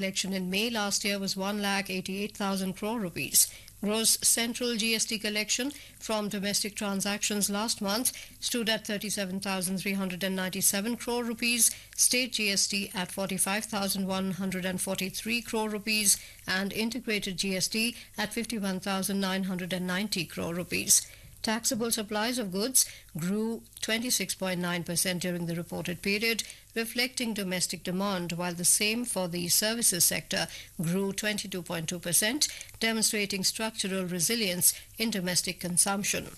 Collection in May last year was 1,88,000 crore rupees. Gross central GST collection from domestic transactions last month stood at 37,397 crore rupees, state GST at 45,143 crore rupees, and integrated GST at 51,990 crore rupees. Taxable supplies of goods grew 26.9% during the reported period, reflecting domestic demand, while the same for the services sector grew 22.2%, demonstrating structural resilience in domestic consumption.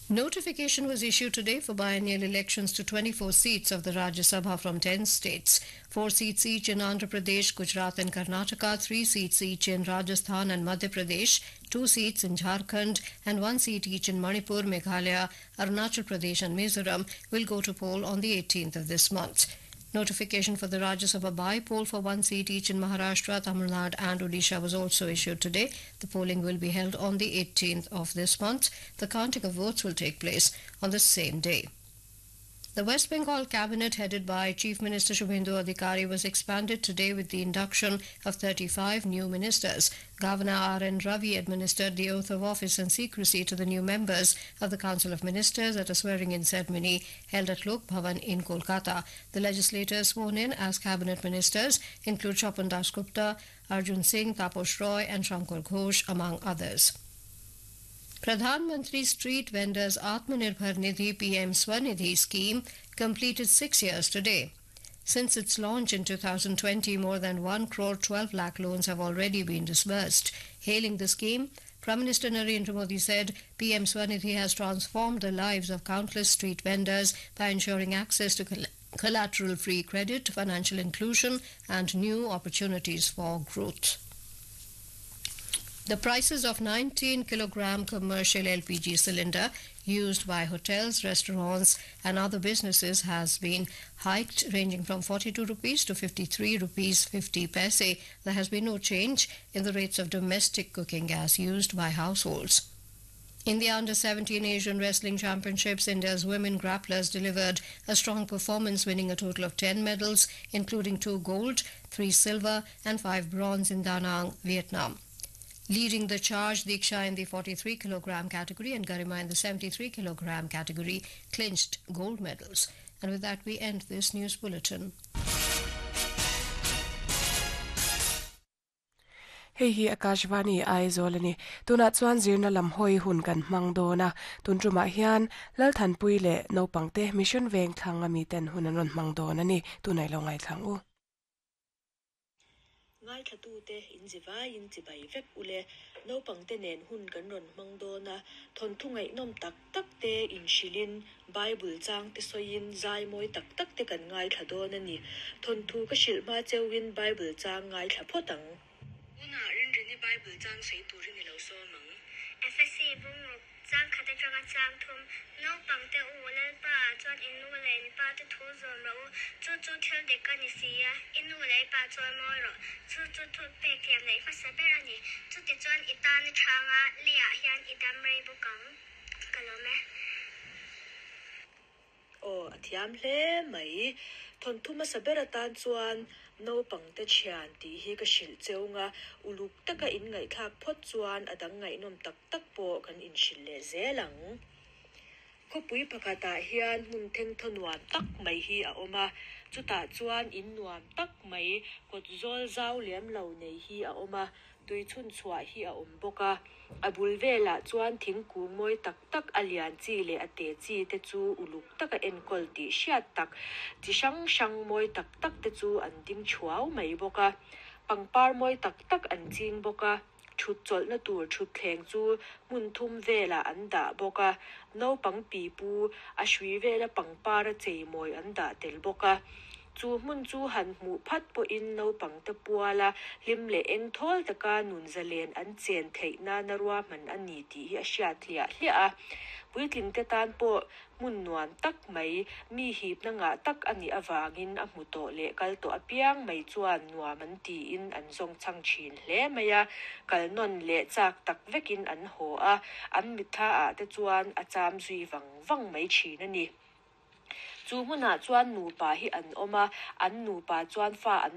Notification was issued today for biennial elections to 24 seats of the Rajya Sabha from 10 states. 4 seats each in Andhra Pradesh, Gujarat and Karnataka, 3 seats each in Rajasthan and Madhya Pradesh, 2 seats in Jharkhand and 1 seat each in Manipur, Meghalaya, Arunachal Pradesh and Mizoram will go to poll on the 18th of this month. Notification for the Rajya Sabha by-poll for 1 seat each in Maharashtra, Tamil Nadu and Odisha was also issued today. The polling will be held on the 18th of this month. The counting of votes will take place on the same day. The West Bengal cabinet, headed by Chief Minister Shubhendu Adhikari, was expanded today with the induction of 35 new ministers. Governor R. N. Ravi administered the oath of office and secrecy to the new members of the Council of Ministers at a swearing-in ceremony held at Lok Bhavan in Kolkata. The legislators sworn in as cabinet ministers include Swapan Dasgupta, Arjun Singh, Taposh Roy and Shankar Ghosh, among others. Pradhan Mantri Street Vendors Atmanirbhar Nidhi PM Swanidhi scheme completed 6 years today. Since its launch in 2020, more than 1 crore 12 lakh loans have already been disbursed. Hailing the scheme, Prime Minister Narendra Modi said PM Swanidhi has transformed the lives of countless street vendors by ensuring access to collateral-free credit, financial inclusion and new opportunities for growth. The prices of 19 kilogram commercial LPG cylinder used by hotels, restaurants and other businesses has been hiked, ranging from 42 rupees to 53 rupees 50 paise. There has been no change in the rates of domestic cooking gas used by households. In the Under-17 Asian Wrestling Championships, India's women grapplers delivered a strong performance, winning a total of 10 medals, including 2 gold, 3 silver and 5 bronze in Da Nang, Vietnam. Leading the charge, Diksha in the 43 kilogram category and Garima in the 73 kilogram category clinched gold medals. And with that, we end this news bulletin. Hei hi Akashvani Aizawl ani. Tunah chuan zirna lam hawi hun kan hmang dawn a. Tun tumah hian Lalthanpui leh naupangte Mission Veng thlang ami ten hun an rawn hmang dawn ani. Tunah i lo ngaithlang u. Ngaithlatute inzivaiin chibai vek ule. Naupangte nen hun kan rawn hmang dawn a, thawnthu ngaihnawm tak tak te inhrilhin, Bible chang te sawiin zai mawi tak tak te kan ngaithla dawn a ni. Thawnthu ka hrilh hma cheuhin Bible chang ngaithla phawt ang. Tunah Rinrini Bible chang sawi turin i lo sawm ang. Efesi bungruk chang khat atanga chang thum, Naupangte u, Lalpa ah chuan i nu leh in pa te thu zawm rawh u, chu chu thil dik a ni si a, i nu leh i pa chuan mawi rawh, chu chu thu pek thiam neih hmasa ber a ni, chutichuan i tan a thanga leiah hian i dam rei bawk ang. Ka lawm e. Aw, a thiam hle mai. Thawnthu hmasa ber atan chuan naupangte thian tih hi ka hrilh cheung a, uluk taka inngaihthlak phawt chuan a dang ngaihnawm tak tak pawh kan inhrilh leh zel ang. Khawpui pakhatah hian hmun thengthaw nuam tak mai hi a awm a, chutah chuan in nuam tak mai kawt zawl zau lem lo nei hi a awm a, tui chhun chhuah hi a awm bawk a. A bul velah chuan thingkung mawi tak tak a lian chi leh a te chi te chu uluk taka enkawl tih hriat tak chi hrang hrang mawi tak tak te chu an ding thuau mai bawk a. Pangpar mawi tak tak an ching bawk a. Thut chawlhna tur thutthleng chu hmun thum velah an dah bawk a, naupang pipu a hrui vela pangpar a cheimawi an dah tel bawk a. Chu hmun chu han hmuh phat pawhin naupangte puala hlim leh eng thawl taka nun zalen an chen theih nana ruahman a ni tih hi a hriat hliah hliah a. Puitlingte tan pawh Hmun nuam tak mai, mi hipna ngah tak a nih avangin a hmu tawh leh kal tawh apiang mai chuan nuam an tiin an zawng chhang thin hle mai a, kal nawn leh chak tak vekin an haw a, an mitthla ah te chuan a cham zui vang vang mai thin a ni. Chu hmunah chuan nupa hi an awm a an nupa chuan fa an.